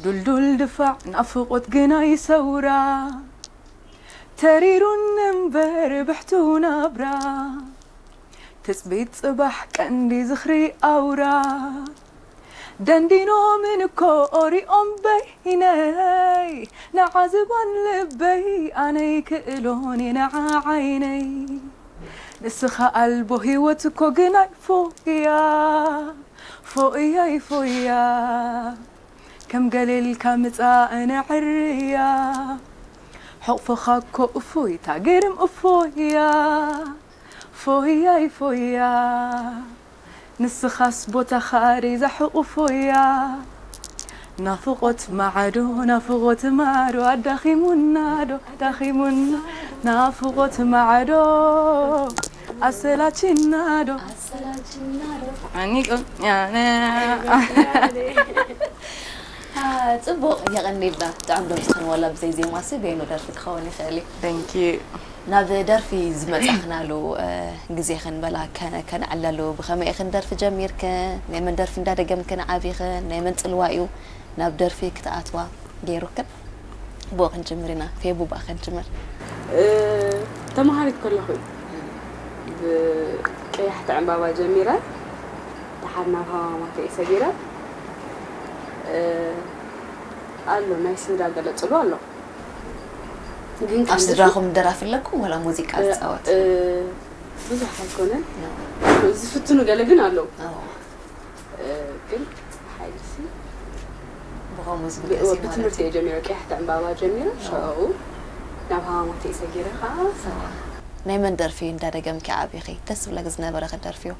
ዱልዱል ድፋዕ ናፍቖት ግናይ ሰውራ፣ ተሪሩን እምበር ብሕቱ ናብራ፣ ትጽቢት ጽባሕ ቀንዲ ዝኽሪ ኣውራ። ደንዲኖምን እኮ ኦሪኦም በይነይ፣ ንዓዝባን ልበይ ኣነይ ክእሎን የነዓ ዓይነይ። ንስኻ ኣልቦ ህይወት እኮ ግናይ ፎያ፣ ፎያይ ፎያ፣ ከም ገሌልካ ምጻእ ነዕርያ። ሕቕፎኻ እኮ እፎይታ ግርም እፎያ፣ ፎያይ ፎያ፣ ንስኻስ ቦታኻ ሪዛ ሕቑፎያ። ናፍቖት ማዕዶ፣ ናፍቖት ማዕዶ፣ ኣዳኺሙና ዶ፣ ኣዳኺሙና። ናፍቖት ማዕዶ፣ ኣሰላችና ዶ። ኣኒቆ፣ ያነ። ጽቡቕ፣ የቐኒልና። ጥዑም ድምፂ ክንወላ ብዘይ ዜማሲ በይኑ ደርፊ ክኸውን ይኽእል እዩ። Thank you። ናብ ደርፊ ዝመጻኽናሉ ግዜ ክንበላ ከነዕለሉ ብኸመይ ኢኽን ደርፊ ጀሚርክን? ናይ መን ደርፊ እንዳደገምክን ዓቢኽን? ናይ መን ጽልዋ እዩ ናብ ደርፊ ክትኣትዋ ገይሩክን? ብኡ ክንጅምር ኢና። ፌቡ ብኣ ክንጅምር። ተመሃሪት ከለኹ እዩ ብቀያሕቲ ዕምባባ ጀሚረ፣ ደሓር ናብ ሃማማተ እዩ ሰጊረ። ኣሎ ናይ ስድራ ገለ ጽልዋ ኣሎ። ግን ካብ ስድራኹም ደራፊ ኣለኩም ወላ ሙዚቃ ዝጻወት? ብዙሕ ኣይኮነን፣ ዝፍትኑ ገለ ግን ኣለዉ። ግን ሓይልሲ ብኸምኡ ዝብገስ እዩ ማለት ብትምህርቲ እዩ። እየ ጀሚረ፣ ቀያሕቲ ዕምባባ ጀሚረ፣ ሽዑ ናብ ሃማማተ እዩ ሰጊረ ከዓ። ናይ መን ደርፊ እንዳደገምኪ ዓቢኺ? ደስ ዝብለኪ ዝነበረ ክደርፍዮ?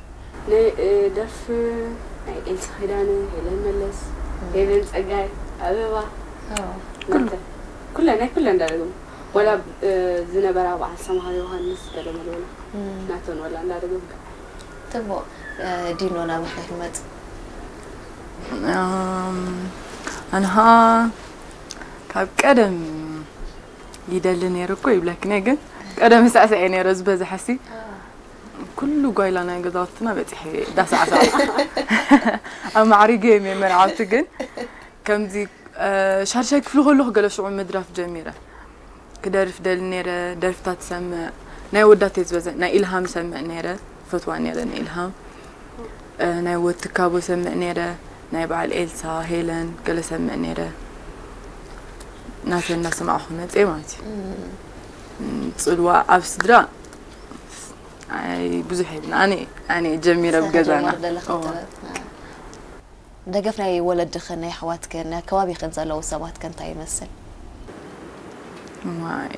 ናይ ደርፊ ናይ ኤልሳ ኪዳነ፣ ሄለን መለስ፣ ሄለን ጸጋይ፣ ኣበባ፣ ናተ ኩለን ናይ ኩለን እንዳደገሙ፣ ወላ ዝነበራ በዓል ሰምሃር ዮሃንስ ገለ መለወላ ናተን ወላ እንዳደገምካ። ጽቡቕ። ዲኖ፣ ናባኺ ክንመጽእ። ኣንሃ ካብ ቀደም ይደሊ ነይሩ እኮ ይብለኪ ነይ፣ ግን ቀደም ሳዕሳዕ እየ ነይረ ዝበዝሐ ሲ ኩሉ ጓይላ ናይ ገዛውትና በፂሐ እየ እንዳሳዕሳዕ ኣማዕሪገ እየ መርዓውቲ። ግን ከምዚ ሻድሻይ ክፍሊ ከለኹ ገለ ሽዑ ምድራፍ ጀሚረ። ክደርፍ ደሊ ነይረ፣ ደርፍታት ሰምዕ። ናይ ወዳት እየ ዝበዝሕ፣ ናይ ኢልሃም ሰምዕ ነይረ፣ ፈትዋ ነይረ ናይ ኢልሃም። ናይ ወትካቦ ሰምዕ ነይረ፣ ናይ በዓል ኤልሳ፣ ሄለን ገለ ሰምዕ ነይረ። ናተ እንዳሰማዕኹ መፅየ ማለት እዩ። ፅልዋ ኣብ ስድራ ኣይ ብዙሕ የብልና። ኣነ ኣነ ጀሚረ ኣብ ገዛና። ደገፍ ናይ ወለድኽን ናይ ኣሕዋትክን ናይ ከባቢኽን ዘለዉ ሰባትከ እንታይ ይመስል? ዋይ፣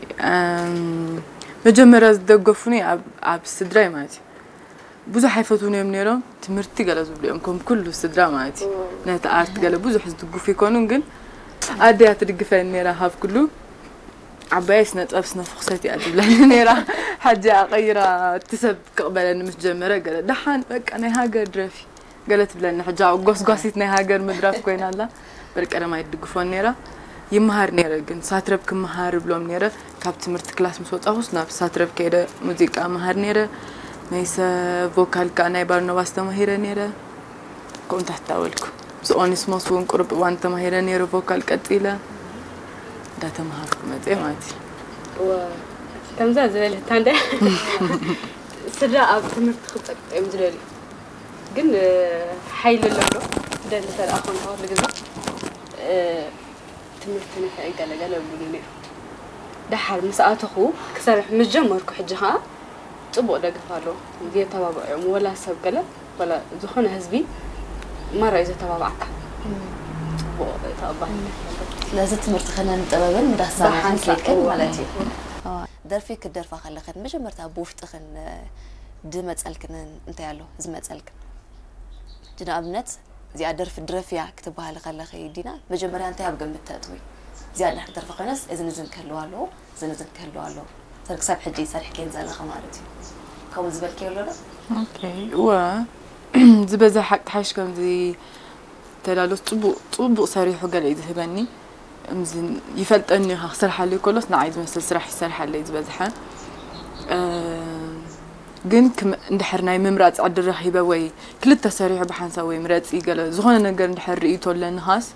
መጀመርያ ዝደገፉኒ ኣብ ስድራይ ማለት እዩ። ብዙሕ ኣይፈትዉን እዮም ነይሮም። ትምህርቲ ገለ ዝብሉ እዮም ከም ኩሉ ስድራ ማለት እዩ። ነቲ ኣርት ገለ ብዙሕ ዝድግፉ ይኮኑን፣ ግን ኣደያ ትድግፈኒ ነይራ ካብ ኩሉ። ዓባየይ ስነ ጥበብ ስነ ፍኽሰት እያ ትብለኒ ነይራ። ሕጂ ኣቐይራ እቲ ሰብ ክቕበለኒ ምስ ጀመረ ገለ ደሓን በቃ ናይ ሃገር ድረፊ ገለ ትብለኒ። ሕጂ ኣብኡ ጎስጓሲት ናይ ሃገር ምድራፍ ኮይና ኣላ። በል ቀደማይ ትድግፎን ነይራ። ይመሃር ነይረ ግን ሳትረብ ክመሃር እብሎም ነይረ። ካብ ትምህርቲ ክላስ ምስ ወጻኹስ ናብ ሳትረብ ከይደ ሙዚቃ መሃር ነይረ። መይሰ ቮካል ከኣ ናይ ባርኖባስ ተማሂረ ነይረ። ከምኡ ታሕታወልኩ ምስ ኦኒስሞስ እውን ቁሩብ እዋን ተማሂረ ነይረ ቮካል ቀጺለ እንዳተምሃርኩ መፅየ ማለት እዩ። ከምዛ ዝበለታ እንደ ስድራ ኣብ ትምህርቲ ክፀቅጥ እዮም ዝደልዩ፣ ግን ሓይሊ ኣለዶ ደሊ ተደኣ ኮንካ ኩሉ ግዜ ትምህርቲ ንፍዒ ገለገለ ይብሉ ነይሩ። ደሓር ምስ ኣተኹ ክሰርሕ ምስ ጀመርኩ ሕጂ ከዓ ፅቡቕ ደገፍ ኣሎ፣ የተባብዑ እዮም። ወላ ሰብ ገለ ወላ ዝኾነ ህዝቢ ማራ እዩ ዘተባብዓካ። ፅቡቕ ተቐባልነት ኣለዎ። ስለዚ ትምህርቲ ክነን ጥበብን እንዳሳና ብሓንሳእ ክንከይድክን እዎ። ማለት እዩ። ደርፊ ክትደርፋ ከለኽን መጀመርታ ብውሽጥኽን ድመፀልክን እንታይ ኣሎ ዝመፀልክን? ንኣብነት እዚኣ ደርፊ ድረፍያ ክትበሃሊ ከለኺ ዲና መጀመርያ እንታይ ኣብ ግምት ተእትዊ? እዚኣ እንድሕር ክደርፋ ኮይነስ እዝን እዝን ክህልዋ ኣለዎ፣ እዝን እዝን ክህልዋ ኣለዎ። ሰብ ክሳብ ሕጂ ሰሪሕክየን ዘለኺ ማለት እዩ። ከምኡ ዝበልክዮ ኣሎ ዶ? እወ ዝበዝሕ ሓቂ ሓይሽ ከምዚ ተዳሎስ ፅቡቕ ፅቡቕ ሰሪሑ ገለ እዩ ዝህበኒ። እምዚ ይፈልጠኒ እዩ ክሰርሓለይ ከሎስ ንዓይ ዝመስል ስራሕ ይሰርሓለይ ዝበዝሐ። ግን እንድሕር ናይ ምምራፅ ዕድል ረኺበ ወይ ክልተ ሰሪሑ ብሓንሳብ ወይ ምረፂ ገለ ዝኾነ ነገር እንድሕር ርእይቶ ኣለኒ ኻስ